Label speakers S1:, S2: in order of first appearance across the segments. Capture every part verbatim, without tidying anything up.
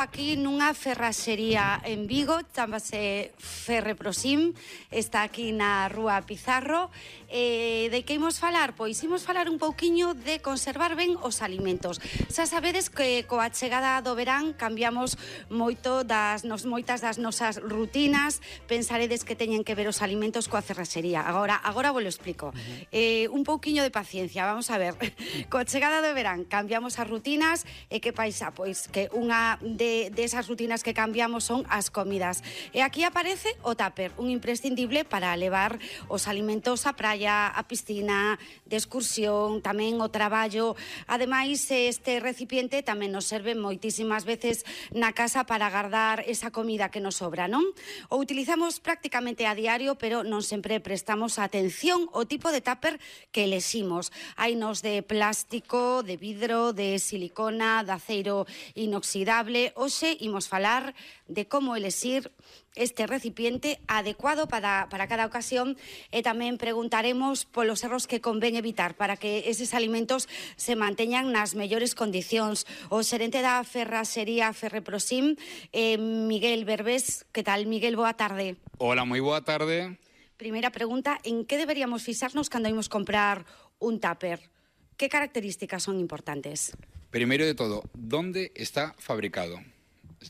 S1: Aquí nunha ferraxería en Vigo, chámase Ferreprosim, está aquí na Rúa Pizarro. Eh, de que imos falar? Pois imos falar un pouquiño de conservar ben os alimentos. Xa sabedes que coa chegada do verán cambiamos moito das nos, moitas das nosas rutinas. Pensaredes que teñen que ver os alimentos coa ferraxería. Agora, agora vos lo explico. Eh, un pouquiño de paciencia, vamos a ver. Coa chegada do verán cambiamos as rutinas e que paisa? Pois que unha de De, de esas rutinas que cambiamos son as comidas. E aquí aparece o tupper, un imprescindible para levar os alimentos á praia, á piscina, de excursión, tamén o traballo. Ademais, este recipiente tamén nos serve moitísimas veces na casa para guardar esa comida que nos sobra, non? O utilizamos prácticamente a diario, pero non sempre prestamos atención ao tipo de tupper que eleximos. Hainos de plástico, de vidro, de silicona, de aceiro inoxidable. Hoxe imos falar de como elexir este recipiente adecuado para, para cada ocasión e tamén preguntaremos polos erros que convén evitar para que eses alimentos se manteñan nas mellores condicións. O xerente da ferraxería Ferreprosim, eh, Miguel Berbés. Que tal, Miguel? Boa tarde.
S2: Hola, moi boa tarde.
S1: Primeira pregunta, en que deberíamos fixarnos cando imos comprar un tupper? Que características son importantes?
S2: Primeiro de todo, ¿dónde está fabricado?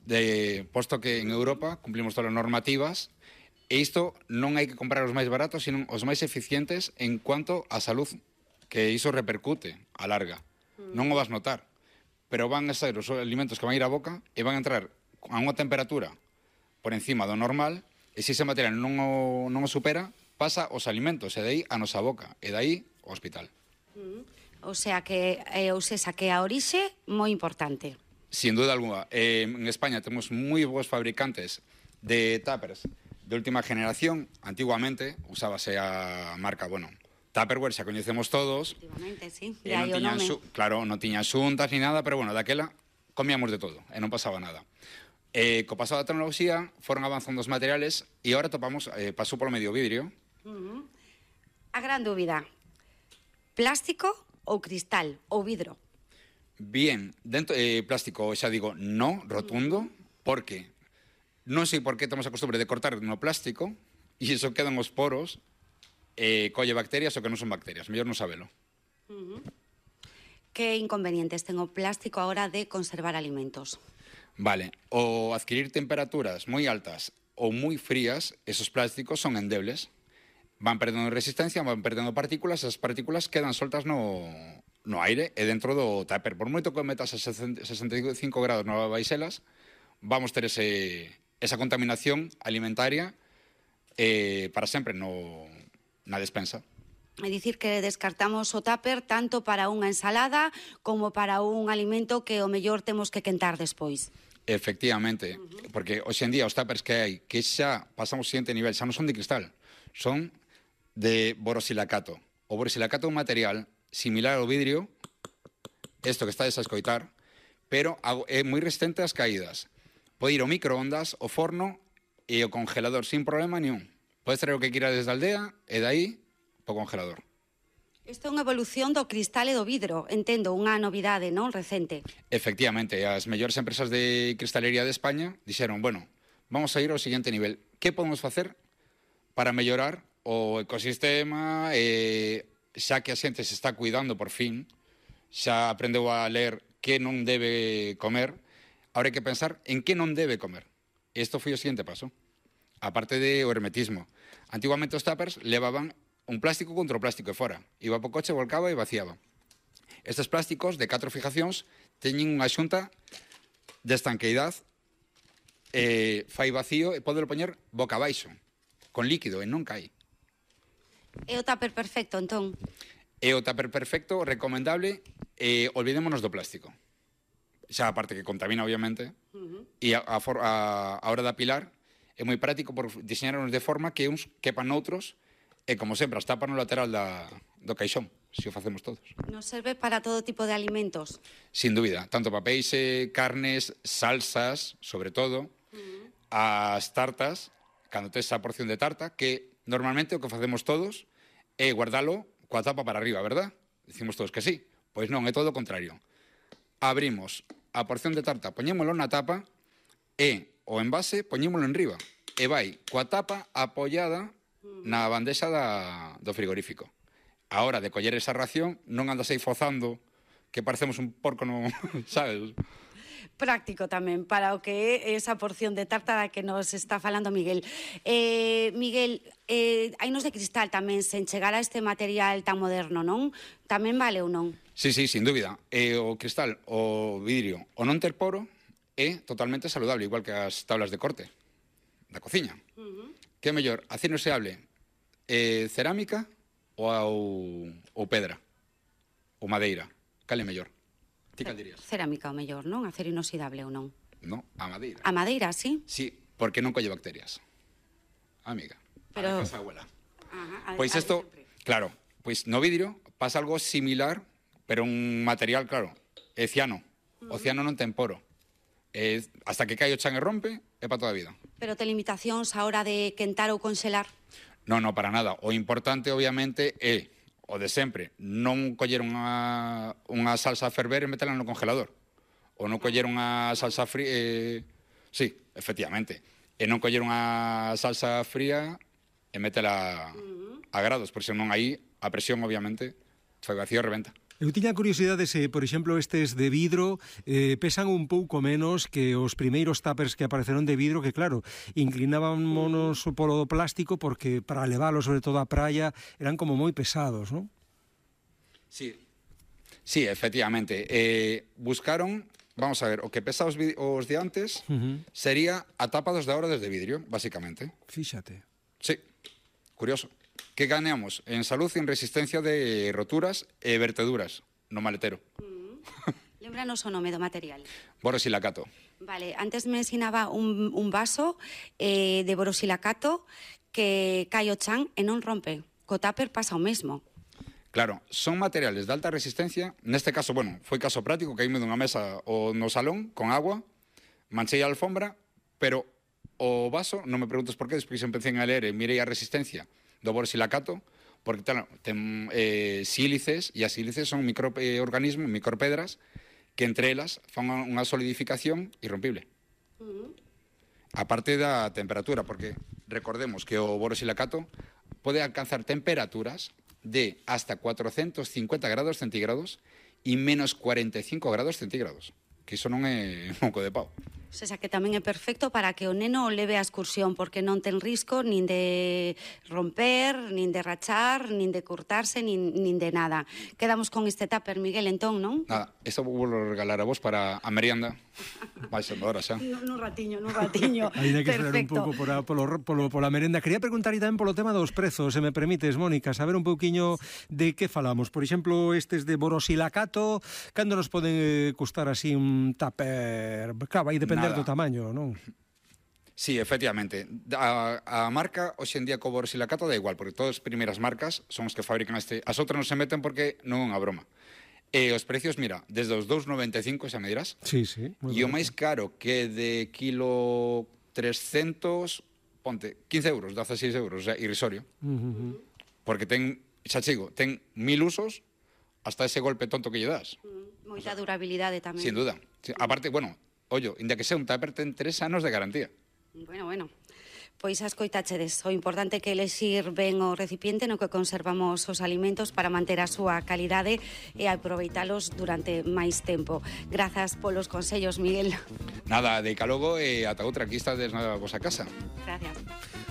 S2: De, posto que en Europa cumplimos todas as normativas e isto non hai que comprar os máis baratos, sino os máis eficientes en cuanto a salud, que iso repercute a larga. Mm. Non o vas notar, pero van a ser os alimentos que van a ir á boca e van a entrar a unha temperatura por encima do normal e se ese material non o, non o supera, pasa os alimentos e dai a nosa boca e dai ao hospital.
S1: Mm. O sea que, eh, ou sesa, que a orixe moi importante.
S2: Sin duda alguna. Eh, en España temos moi bons fabricantes de tuppers de última generación. Antiguamente usábase a marca, bueno, Tupperware, xa coñecemos todos.
S1: Efectivamente, sí.
S2: E non tiñan, su, claro, non tiñan xuntas ni nada, pero bueno, daquela comíamos de todo e non pasaba nada. Eh, co paso da tecnoloxía foron avanzando os materiales e agora topamos, eh, pasou polo medio vidrio.
S1: Uh -huh. A gran dúbida, plástico ou cristal ou vidro?
S2: Bien, dentro eh, plástico xa digo no, rotundo, porque non sei por que estamos acostumbrados de cortar no plástico e iso quedan os poros, eh, colle bacterias ou que non son bacterias, mellor non sabelo.
S1: Uh -huh. Que inconvenientes ten o plástico a hora de conservar alimentos?
S2: Vale, o adquirir temperaturas moi altas ou moi frías, esos plásticos son endebles. Van perdendo resistencia, van perdendo partículas, esas partículas quedan soltas no, no aire e dentro do tupper. Por moito que metas a sesenta e cinco grados no baixelas, vamos ter ese, esa contaminación alimentaria eh, para sempre no, na despensa.
S1: É dicir que descartamos o tupper tanto para unha ensalada como para un alimento que o mellor temos que quentar despois.
S2: Efectivamente, uh -huh. Porque hoxe en día os tuppers que hai, que xa pasamos ao seguinte nivel, xa non son de cristal, son de borosilicato. O borosilicato é un material similar ao vidrio, isto que estades a escoitar, pero é moi resistente ás caídas. Pode ir ao microondas, ao forno e ao congelador sin problema nenhum. Podes traer o que quira desde a aldea e dai ao congelador.
S1: Isto é unha evolución do cristal e do vidro, entendo, unha novidade, non, recente.
S2: Efectivamente, as mellores empresas de cristalería de España dixeron, bueno, vamos a ir ao seguinte nivel. Que podemos facer para mellorar o ecosistema, eh, xa que a xente se está cuidando por fin, xa aprendeu a ler que non debe comer, ahora hai que pensar en que non debe comer. Isto foi o seguinte paso. Aparte de o hermetismo. Antiguamente os tuppers levaban un plástico contra o plástico de fora. Iba po coche, volcaba e vaciaba. Estes plásticos de catro fijacións teñen unha xunta de estanqueidade, eh, fai vacío e pode poñer boca abaixo, con líquido e non cae.
S1: É o tupper perfecto, entón?
S2: É o tupper perfecto, recomendable, e eh, olvidémonos do plástico. Xa a parte que contamina, obviamente, uh -huh. e a, a, a, a hora de apilar é moi práctico por diseñarnos de forma que uns quepan noutros e, como sempre, as tapas no lateral da, do caixón, se o facemos todos.
S1: Nos serve para todo tipo de alimentos?
S2: Sin dúbida, tanto para peixe, carnes, salsas, sobre todo, uh -huh. as tartas, cando tes esa porción de tarta, que normalmente o que facemos todos é guardalo coa tapa para arriba, verdad? Dicimos todos que sí. Pois non, é todo o contrario. Abrimos a porción de tarta, poñémolo na tapa E o envase poñémolo en riba e vai coa tapa apoiada na bandexa da, do frigorífico. A hora de coller esa ración non andas aí fozando que parecemos un porco, no, sabes?
S1: Práctico tamén para o que é esa porción de tarta da que nos está falando Miguel. Eh, Miguel, eh, hainos de cristal tamén sen chegar a este material tan moderno, non? Tamén vale ou non?
S2: Sí, sí, sin dúbida. Eh, o cristal, o vidrio, o non ter poro é totalmente saludable, igual que as tablas de corte da cociña. Uh-huh. Que é mellor, acero inoxidable, eh, cerámica ou, ou pedra? Ou madeira? Cal é mellor? Ti cal dirías?
S1: Cerámica o mellor, non? Acero inoxidable ou non?
S2: No, a madeira.
S1: A madeira, sí?
S2: Sí, porque non colle bacterias. Amiga,
S1: pero...
S2: a casa abuela.
S1: Ajá,
S2: pois isto, claro, pois no vidrio pasa algo similar, pero un material, claro, é ciano. O ciano non ten poro. Eh, hasta que cae o chan e rompe, é para toda a vida.
S1: Pero te limitacións a hora de quentar ou conxelar?
S2: Non, non, para nada. O importante, obviamente, é o de sempre. Non coller unha, unha salsa a ferver e metela no congelador. Ou non coller unha salsa fría... Eh, sí, efectivamente. E non coller unha salsa fría e metela a grados, porque senón aí a presión, obviamente, foi vacío e rebenta.
S3: Eu tiña curiosidade se, por exemplo, estes de vidro eh, pesan un pouco menos que os primeiros tuppers que apareceron de vidro, que claro, inclinábamos polo plástico porque para leválos, sobre todo á praia, eran como moi pesados, non?
S2: Sí, sí, efectivamente. Eh, buscaron, vamos a ver, o que pesa os, os de antes uh-huh. sería a tapa dos de ahora desde vidrio, básicamente.
S3: Fíxate.
S2: Sí, curioso. Que ganeamos en salud e en resistencia de roturas e verteduras no maletero.
S1: Mm. Lembranos o nome do material.
S2: Borosilicato.
S1: Vale, antes me ensinaba un, un vaso eh, de borosilicato que cae o chan e non rompe. Co tupper pasa o mesmo.
S2: Claro, son materiales de alta resistencia. Neste caso, bueno, foi caso práctico, que caíme dunha mesa o no salón con agua, manchei a alfombra, pero o vaso, non me preguntes por qué, despois empecé a ler e mirei a resistencia do borosilicato, porque tal, ten eh, sílices, e as sílices son microorganismos, micropedras, que entre elas fan unha solidificación irrompible. Uh-huh. A parte da temperatura, porque recordemos que o borosilicato pode alcanzar temperaturas de hasta cuatrocentos cincuenta grados centígrados e menos cuarenta e cinco grados centígrados, que iso non é moco de pau.
S1: O sea, que tamén é perfecto para que o neno leve a excursión, porque non ten risco nin de romper, nin de rachar, nin de cortarse, nin, nin de nada. Quedamos con este tupper, Miguel, entón, non?
S2: Nada, isto vou regalar a vos para a merienda. Vai sendo hora xa.
S1: Nun ratiño, nun ratiño.
S3: Ainda que esperar un pouco por polo, polo, pola merenda. Quería preguntar tamén polo tema dos prezos, se me permites, Mónica, saber un pouquiño de que falamos. Por exemplo, estes de borosilicato, cando nos poden eh, custar así un tupper? Claro, vai depender do tamaño, non?
S2: Sí, efectivamente. A, a marca, hoxe en día, co borosilicato da igual, porque todas as primeiras marcas son os que fabrican este. As outras non se meten porque non é unha broma. E os precios, mira, desde os dos noventa e cinco, xa me dirás.
S3: Sí, sí.
S2: E o máis caro que de kilo trescentos, ponte, quince euros, dezasseis euros, o sea, irrisorio. Uh-huh. Porque ten, xa chigo, ten mil usos hasta ese golpe tonto que lle das.
S1: Mm, moita durabilidade tamén.
S2: Sin duda. Sí, aparte, bueno, ollo, inda que sea un tupper, ten tres anos de garantía.
S1: Bueno, bueno. Pois as coitachedes, o importante é que elexir ben o recipiente no que conservamos os alimentos para manter a súa calidade e aproveitalos durante máis tempo. Grazas polos consellos, Miguel.
S2: Nada, de calogo e ata outra, aquí estades na vosa casa.
S1: Gracias.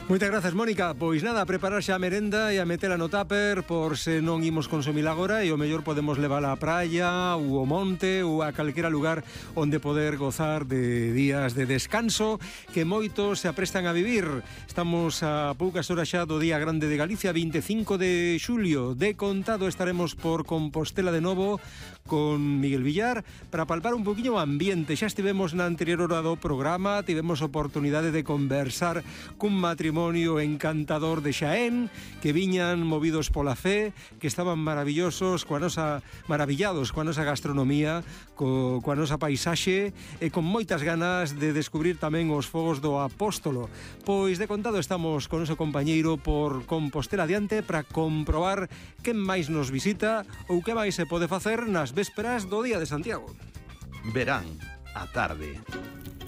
S3: Moitas grazas, Mónica. Pois nada, a preparar xa a merenda e a metela no tupper por se non imos consumir agora e o mellor podemos levala á praia ou ao monte ou a calquera lugar onde poder gozar de días de descanso que moitos se aprestan a vivir. Estamos a poucas horas xa do Día Grande de Galicia, vinte e cinco de xulio. De contado estaremos por Compostela de novo con Miguel Villar para palpar un poquinho o ambiente. Xa estivemos na anterior hora do programa, tivemos oportunidade de conversar cun matrimonio encantador de Xaén que viñan movidos pola fe, que estaban maravillosos, coa nosa, maravillados coa nosa gastronomía, co, coa nosa paisaxe e con moitas ganas de descubrir tamén os fogos do Apóstolo. Pois de contado estamos con o noso compañeiro por Compostela adiante para comprobar quen máis nos visita ou que máis se pode facer nas vésperas do Día de Santiago.
S4: Verán, a tarde.